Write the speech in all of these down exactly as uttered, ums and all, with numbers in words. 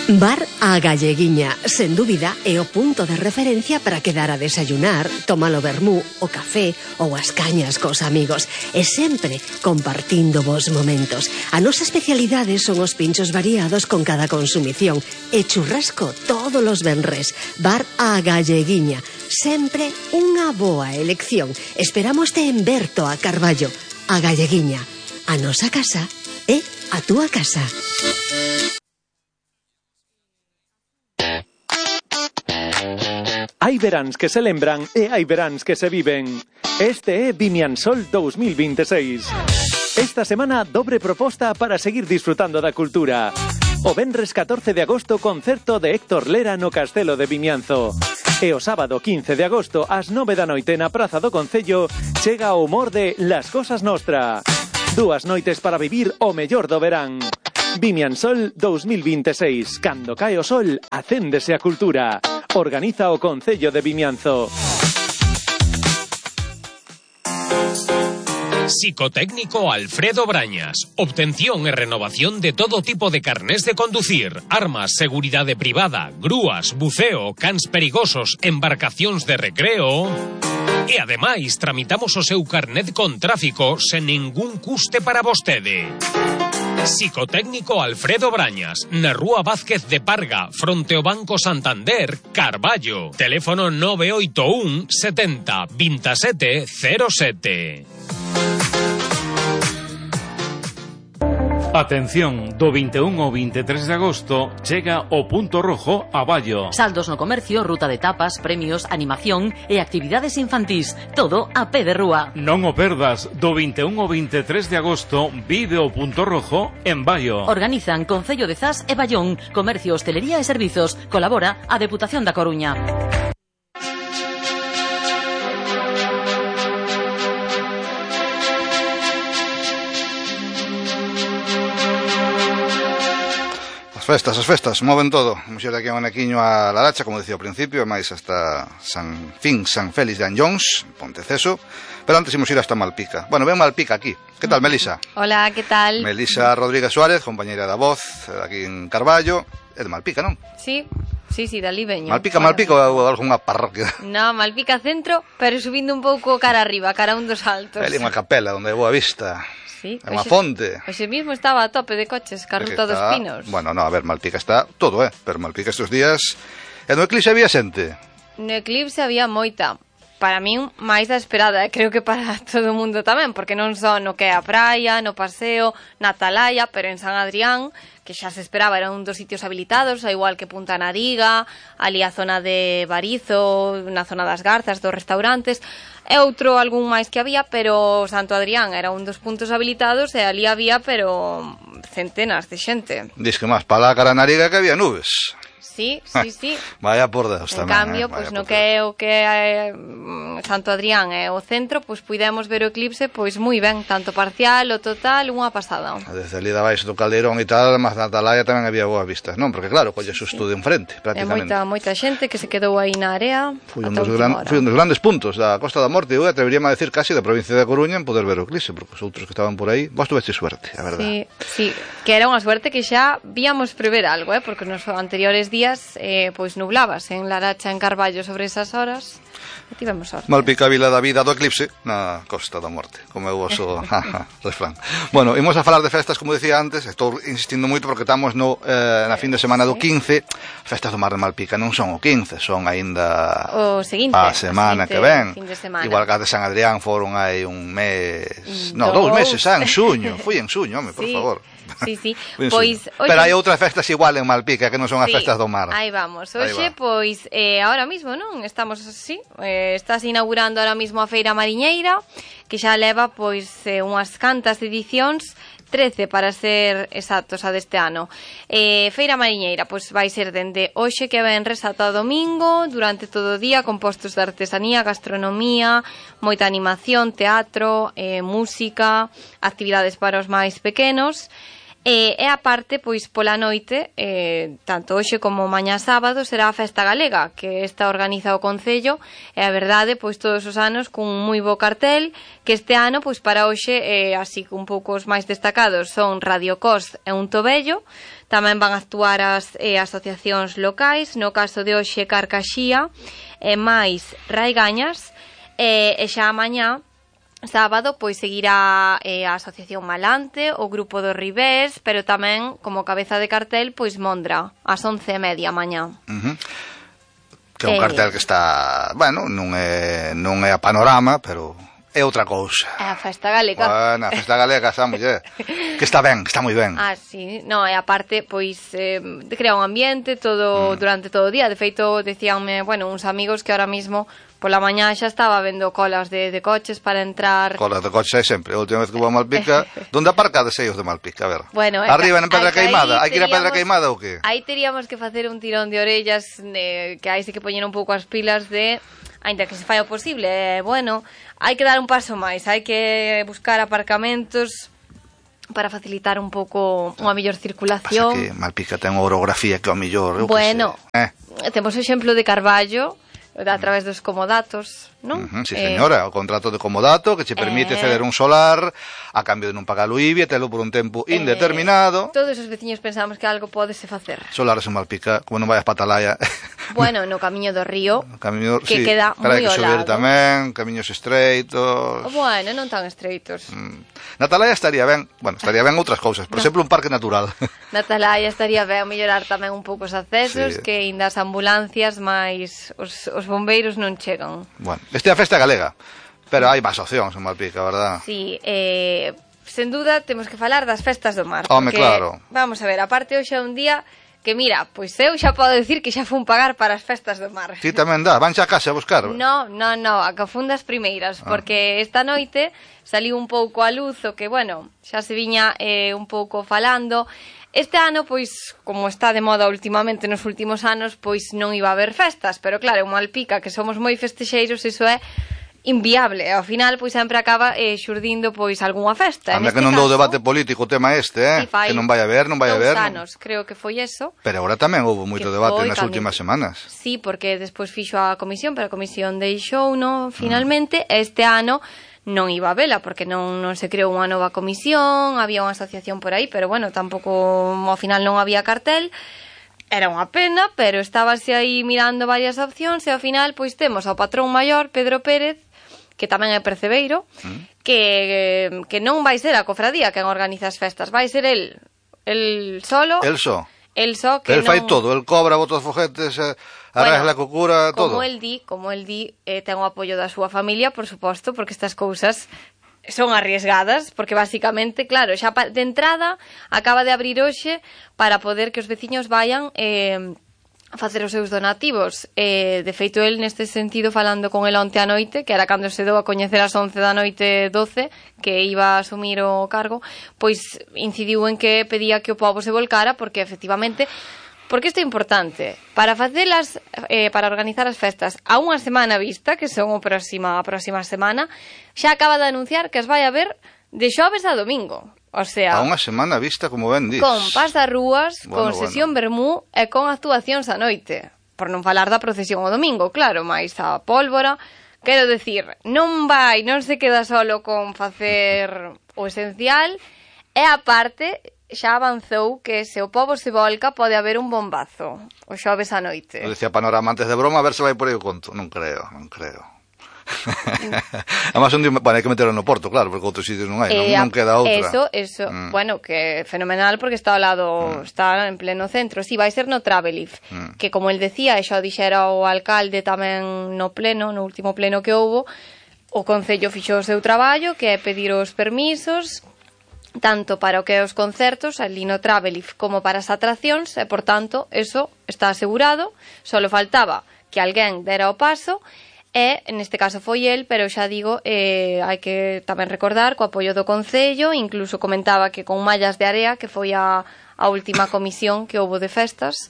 Bar A Galleguiña, sen dúbida, é o punto de referencia para quedar a desayunar, tomar o vermú, o café ou as cañas cos amigos, e sempre compartindo vos momentos. A nosa especialidade son os pinchos variados con cada consumición e churrasco todos os venres. Bar A Galleguiña, sempre unha boa elección. Esperámoste en Berto a Carballo. A Galleguiña, a nosa casa é a túa casa. Hai veráns que se lembran e hai veráns que se viven. Este é Vimiansol dous mil veintiséis. Esta semana, dobre proposta para seguir disfrutando da cultura. O venres catorce de agosto, concerto de Héctor Lera no Castelo de Vimianzo. E o sábado quince de agosto, ás nove da noite na Praza do Concello, chega o humor de Las Cosas Nostra. Dúas noites para vivir o mellor do verán. Vimiansol dous mil veintiséis. Cando cae o sol, acéndese a cultura. Organiza o Concello de Vimianzo. Psicotécnico Alfredo Brañas. Obtención e renovación de todo tipo de carnés de conducir, armas, seguridade privada, grúas, buceo, cans perigosos, embarcacións de recreo. E ademais tramitamos o seu carnet con tráfico sen ningún custe para vostede. Psicotécnico Alfredo Brañas, na Rúa Vázquez de Parga, fronte ao Banco Santander, Carballo. Teléfono nove oito un setenta veintisiete cero sete. Atención, do vinte e un ao vinte e tres de agosto chega o Punto Rojo a Ballo. Saldos no comercio, ruta de tapas, premios, animación e actividades infantís. Todo a pé de rúa. Non o perdas, do vinte e un ao vinte e tres de agosto vive o Punto Rojo en Ballo. Organizan Concello de Zas e Ballón, Comercio, Hostelería e Servizos. Colabora a Deputación da Coruña. Festas, as festas, moven todo. Vamos ir aquí a un equiño a Laracha, como decía ao principio, e máis hasta San Fin, San Félix de Anllóns, Ponteceso, pero antes imos ir hasta Malpica. Bueno, ven Malpica aquí. Que tal, Melisa? Hola, que tal? Melisa Rodríguez Suárez, compañeira da Voz, aquí en Carballo. É de Malpica, non? Sí, sí, sí, dali veño. Malpica, Malpica ou algunha parroquia? No, Malpica centro, pero subindo un pouco cara arriba, cara a un dos altos. É ali unha capela, onde é boa vista. Sí, é unha fonte. Hoxe mesmo estaba a tope de coches, ca ruta dos Pinos. Bueno, no, a ver, Malpica está todo, eh? Pero Malpica estes días... E no eclipse había xente? No eclipse había moita. Para min, máis da esperada, e creo que para todo o mundo tamén, porque non só no que é a praia, no paseo, na Atalaya, pero en San Adrián, que xa se esperaba, era un dos sitios habilitados, ao igual que Punta Nariga, ali a zona de Barizo, na zona das Garzas, dos restaurantes, e outro algún máis que había, pero Santo Adrián era un dos puntos habilitados e ali había, pero centenas de xente. Diz que máis para a cara Nariga que había nubes. Sí, sí, sí. Vaya por Deus tamén. En cambio, eh? pois no que é o que é Santo Adrián e o centro, pois puidemos ver o eclipse pois moi ben, tanto parcial ou total, unha pasada. Desde ali da baixo do Caldeirón e tal, mas na Atalaya tamén había boas vistas, non? Porque claro, colle susto de enfrente, prácticamente. É moita, moita xente que se quedou aí na área. Foi un, dos gran, foi un dos grandes puntos da Costa da Morte, eu atreveríame a decir casi da provincia da Coruña en poder ver o eclipse, porque os outros que estaban por aí, vos tuveche suerte, a verdade. Sí, sí, que era unha suerte que xa víamos prever algo, eh? Porque nos anteriores días Eh, pois nublabas en Laracha, en Carballo sobre esas horas e tivemos sorte. Malpica, Vila da Vida do eclipse na Costa da Morte, como é o vosso refrán. Bueno, imos a falar de festas, como decía antes, estou insistindo moito porque estamos no, eh, na fin de semana do quince. Festas do Mar de Malpica non son o quince, son aínda o seguinte, a semana que ven. Igual que a de San Adrián foron hai un mes, no, dous meses, xa, en suño, foi en suño, home, por sí. favor. Sí, sí. Pois, oye, pero hai outras festas igual en Malpica que non son as sí, festas do mar. Aí vamos. Hoxe, pois, eh, ahora mismo, non? Estamos así, eh, estás inaugurando ahora mismo a Feira Mariñeira, que xa leva, pois, eh, unhas cantas edicións, trece para ser exactos a deste ano. Eh, Feira Mariñeira, pois vai ser dende hoxe que venres ata o domingo, durante todo o día, con postos de artesanía, gastronomía, moita animación, teatro, eh, música, actividades para os máis pequenos. E, e a parte, pois, pola noite, eh, tanto hoxe como mañá sábado, será a Festa Galega, que esta organiza o Concello, e a verdade, pois, todos os anos, cun moi bo cartel, que este ano, pois, para hoxe, eh, así que un pouco os máis destacados son Radio Cos e Un Tobello, tamén van a actuar as eh, asociacións locais, no caso de hoxe Carcaxía, e máis Raigañas, e, e xa mañá, sábado, pois seguirá eh, a Asociación Malante, o Grupo do Ribés, pero tamén, como cabeza de cartel, pois Mondra, ás once e media mañá. Uh-huh. Que é un eh... cartel que está, bueno, non é, non é a Panorama, pero é outra cousa. É a Festa Galega. Bueno, a Festa Galega, esa muller, que está ben, está moi ben. Ah, sí, no, e aparte, pois, eh, crea un ambiente todo mm. durante todo o día. De feito, decíanme, bueno, uns amigos que ahora mismo pola mañá xa estaba vendo colas de, de coches para entrar. Colas de coches hai sempre. A última vez que vou a Malpica, donde aparcades ellos de Malpica? A ver. Bueno, arriba en Pedra Queimada, hai que ir a Pedra Queimada ou que? Aí teríamos que facer un tirón de orellas, de, que aí sí que poñer un pouco as pilas de, ainda que se fai o posible, eh, bueno, hai que dar un paso máis, hai que buscar aparcamentos para facilitar un pouco unha mellor circulación. Pasa que Malpica ten unha orografía que ao mellor, eu bueno, que sei. Eh. Temos o exemplo de Carballo, a través dos comodatos, non? Uh-huh, sí, señora, eh, o contrato de comodato que che permite eh, ceder un solar a cambio de non pagar o I B I e telo por un tempo eh, indeterminado. Todos os veciños pensamos que algo pódese facer. Solares en Malpica, como non vayas para Atalaya. Bueno, no camiño do río, camiño, que sí, queda moi ao lado. Hai que subir tamén, camiños estreitos. Bueno, non tan estreitos. Mm. Na Atalaya estaría ben, bueno, estaría ben outras cousas, por no. exemplo, un parque natural. Na Atalaya estaría ben mellorar tamén un pouco os accesos, sí. Que ainda as ambulancias máis os, os bombeiros non chegan. Bueno, este é a Festa Galega, pero hai máis opcións en Malpica, verdad? Sí, eh, sen duda temos que falar das festas do mar. Home, porque, claro. Vamos a ver, aparte hoxe é un día que mira, pois eu xa podo decir que xa fun pagar para as festas do mar. Ti tamén dá, van xa a casa a buscar? No, no, no, a que fun das primeiras, ah. porque esta noite saliu un pouco a luz o que, bueno, xa se viña eh, un pouco falando. Este ano, pois, como está de moda últimamente nos últimos anos, pois non iba a haber festas, pero claro, en Malpica, que somos moi festexeiros, iso é inviable. Ao final, pois, sempre acaba eh, xurdindo, pois, algunha festa. Anda que non dou debate político o tema este, eh? Que non vai a haber, non vai a haber. Dous anos, creo que foi eso. Pero agora tamén houve moito debate nas últimas semanas. Sí, porque despois fixo a comisión, pero a comisión deixou, no, finalmente, mm. este ano non iba a vela, porque non, non se creou unha nova comisión, había unha asociación por aí, pero bueno, tampouco, ao final non había cartel. Era unha pena, pero estábase aí mirando varias opcións e ao final, pois, temos ao patrón maior, Pedro Pérez, que tamén é percebeiro, mm. que, que non vai ser a cofradía quen organiza as festas, vai ser el, el solo. El só. El só que el non... fai todo, el cobra, bota os foguetes, eh, arregla bueno, co cura, todo. Como el di, como el di, eh, ten o apoio da súa familia, por suposto, porque estas cousas son arriesgadas, porque basicamente, claro, xa de entrada acaba de abrir hoxe para poder que os veciños vayan eh, a facer os seus donativos. Eh, de feito, el neste sentido, falando con el onte a noite, que era cando se dou a coñecer as once da noite doce, que iba a asumir o cargo, pois incidiu en que pedía que o pobo se volcara, porque efectivamente, porque isto é importante, para facelas, eh, para organizar as festas a unha semana vista, que son a próxima, a próxima semana, xa acaba de anunciar que as vai haber de xoves a domingo. O sea, a unha semana vista, como ben dis. Con pasarrúas, bueno, con sesión bueno. vermú e con actuacións a noite. Por non falar da procesión o domingo, claro, máis a pólvora. Quero decir, non vai, non se queda solo con facer o esencial, e aparte xa avanzou que se o pobo se volca pode haber un bombazo o xoves a noite. Eu decía Panorama antes de broma, a ver se vai por aí o conto. Non creo, non creo. Además un día, bueno, hai que meterlo no Porto, claro, porque outros sitios non hai, eh, non, non queda outra. Eso, eso, mm. bueno, que fenomenal porque está ao lado, mm. está en pleno centro. Si, sí, vai ser no Travelif, mm. que como el decía, e xa dixera o alcalde tamén no pleno, no último pleno que houbo, o Concello fixo o seu traballo, que é pedir os permisos tanto para o que é os concertos ali no Travelif como para as atraccións, e por tanto, eso está asegurado. Só faltaba que alguén dera o paso. E, neste caso foi el, pero xa digo, eh, hai que tamén recordar co apoio do Concello, incluso comentaba que con Mallas de Area, que foi a, a última comisión que houbo de festas,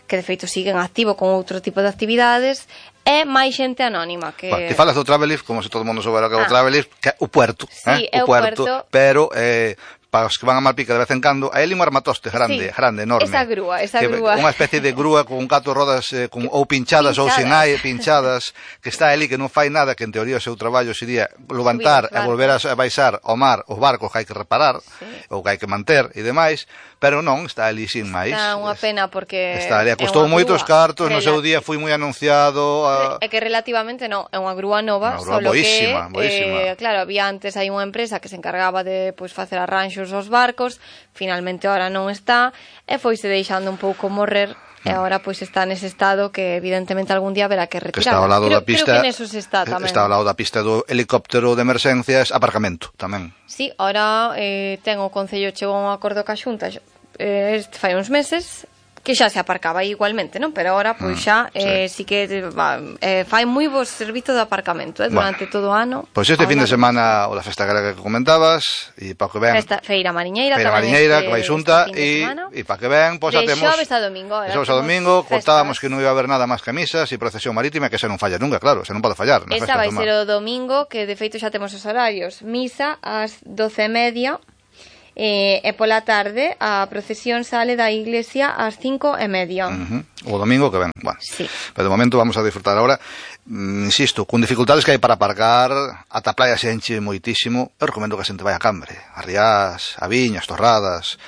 que de feito siguen activo con outro tipo de actividades, e máis xente anónima. Que... Bueno, ti falas do Travelif, como se todo mundo soubera que é o ah. Travelif, que é o puerto, sí, eh? o, o puerto, puerto, pero eh, para os que van a Malpica de vez en cando, hai ali un armatoste grande, Sí, grande, enorme. esa grúa, esa que, grúa. Unha especie de grúa con catro rodas eh, con, ou pinchadas, ou Pinchadas. sin hai, pinchadas, que está ali que non fai nada, que en teoría o seu traballo sería levantar e Subir os volver a baixar ao mar os barcos que hai que reparar, Sí. ou que hai que manter e demais, pero non, está ali sin máis. Está unha pena porque Está ali, é custou unha moitos grúa cartos, no seu relati- día foi moi anunciado. A... É que relativamente non, é unha grúa nova, Unha grúa solo boísima, que, boísima. Eh, claro, había antes hai unha empresa que se encargaba de pois, facer arranxos aos barcos, finalmente ahora non está, e foise deixando un pouco morrer, e agora pois está nese estado que evidentemente algún día haberá que que retirar. está ao lado creo, da pista, creo que neso se está tamén. está ao lado da pista do helicóptero de emerxencias, aparcamento tamén. Sí, ahora eh, ten o Concello chegou a un acordo ca Xunta eh, este fai uns meses que xa se aparcaba igualmente, non? Pero ahora pois xa eh, sí. sí que va, eh, fai moi bo servizo de aparcamento eh, durante bueno, todo o ano. Pois este fin de semana o da festa galega que comentabas e para que ven Festa, Feira Mariñeira Feira Mariñeira que vai xunta e e para que ven, pois de temos xoves a domingo, de xoves a domingo, contábamos que non iba a haber nada máis que misas e procesión marítima, que esa non falla nunca, claro, esa non pode fallar. Esa vai ser o domingo, que de feito xa temos os horarios. Misa ás doce e media. Eh, e pola tarde a procesión sale da iglesia ás cinco e media. Uh -huh. O domingo que ven, bueno. Sí. Pero de momento vamos a disfrutar ahora, mm, insisto, con dificultades que hai para aparcar, ata a playa se enche moitísimo. Eu recomendo que a xente vai a Cambre, a Riás, a Viñas, Torradas,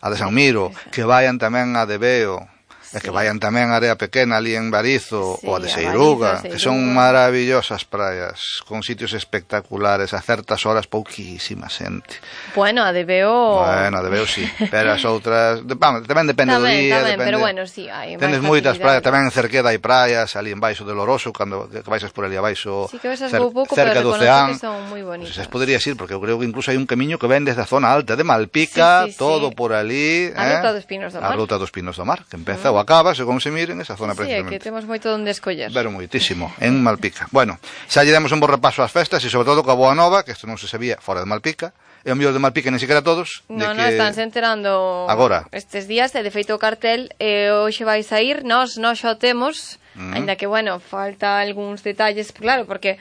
a de San Miro, que vayan tamén a de Veo, e que vayan tamén a Area Pequena ali en Barizo, sí, ou a de a Seiruga, Barizo, que son Seiruga. maravillosas praias, con sitios espectaculares, a certas horas pouquísima xente. Bueno, a de Veo... Bueno, a de Veo sí, pero as outras, de, vamos, tamén depende tamén, do día, tamén, depende. pero bueno, sí, hai Tenes máis moitas praias, facilidade. tamén en Cerqueda hai praias, ali en baixo de Loroso, cando que baixas por ali abaixo, Sí que ves as cer, vou pouco, cerca pero do reconozco Oceán. que son moi bonitas. Pues poderías ir, porque eu creo que incluso hai un camiño que ven desde a zona alta de Malpica, Sí, sí, sí. todo por ali, A eh? Ruta dos Pinos do Mar. A Ruta dos Pinos do Mar, que empeza ou acaba, según se miren, esa zona Sí, é precisamente. que temos moito onde escoller. Pero moitísimo, en Malpica. Bueno, xa lle demos un bo repaso ás festas e sobre todo coa boa nova, que isto non se sabía fora de Malpica, e o mellor de Malpica nem siquiera todos. No, de no, que... estánse enterando agora. Estes días, e de feito o cartel eh, hoxe vai sair, nós, nós xa o temos, Mm. ainda que, bueno, falta algúns detalles, claro, porque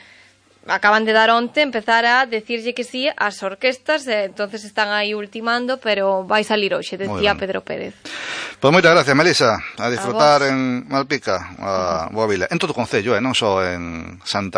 acaban de dar onte empezar a decirlle que sí ás orquestas, e entonces están aí ultimando, pero vai salir hoxe, decía Pedro Pérez. Pois moitas gracias, Melisa, a disfrutar a en Malpica, a boa vila, en todo o concello, eh, non só en Santa